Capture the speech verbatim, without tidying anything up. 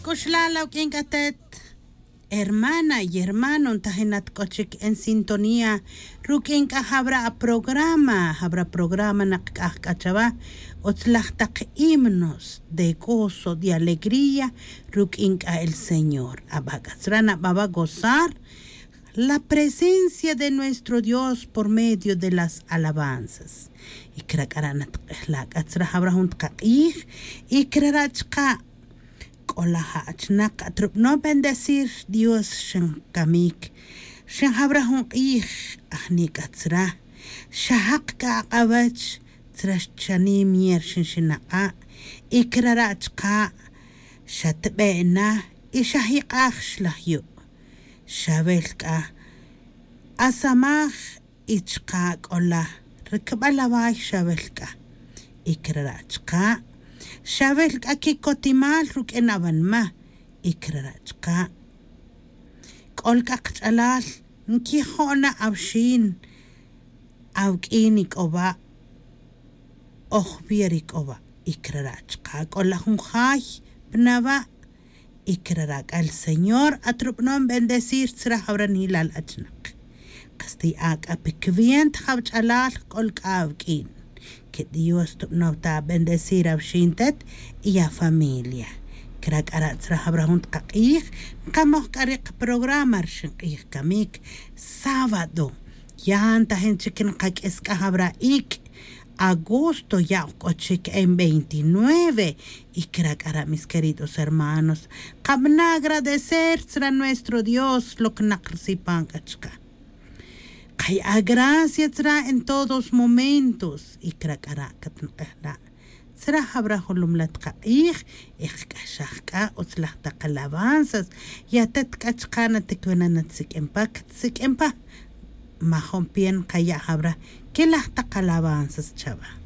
C'uxlal awq'uin c'a atet hermana y hermano ntajinat c'o chic en sintonía ruq'uin c'a jabra aprograma jabra programa nakc'aj c'a chawa. Utzlaj tak himnos de gozo de alegría ruq'uin c'a el señor aba' c'a tzra' naba' gozar la presencia de nuestro dios por medio de las alabanzas. Y cra' c'a ra' natk'ejla' c'a tzra' jabra jun tkak'ij y cra' ra' chka' c'o la ja' achnak atrub'anom bendecir dios xin camic. Xin jabra jun k'ij ajni c'a tzra' xajak c'a ak'awech tzra' xchanim yer xin xinak'a'. Y cra' ra' chka' xatbe' na y xajik'aj xlaj yu'. Xawel c'a asamaj y chka' c'o la ricbal away xawel c'a. Y cra' ra' chka' xawel c'a quicotimal ruq'uin awanma. Y cra' ra' chka' c'ol c'a kach'alal nquijo' na awxin awq'uin ic'oba' oj wi' ri c'o wa'. Y cra' ra' chka' c'o la jun jay pa na wa'. Y cra' ra' c'a el señor atrub'anom bendecir tzra' jawra nilal achnak. Kastiya' c'a pe cwienta jawch'alal c'ol c'a awq'uin. Que dios tub'anom ta bendecir awxin tet y afamilia. Cra' c'a ra' tzra' jawra jun tkak'ij nkamoj c'a ri kaprograma rixin k'ij camic sábado. Ya ntajin chic nkaq'uis c'a jawra ic' agosto ya' oj c'o chic en veintinueve. Y cra' c'a ra' mis queridos hermanos kabana' agradecer tzra' nuestro dios locnak risipan c'a chka'. Kaya' gracia tzra' en todos momentos. Y cra' c'a ra' catnak'ejla' tzra' jawra jun lumlat kak'ij. Y kac'axaj c'a utzlaj tak alabanzas. Y atet c'a chka' naticwena' natsiq'uin pa catsiq'uin pa. Majun pie nkaya' jawra quelaj tak alabanzas chawa.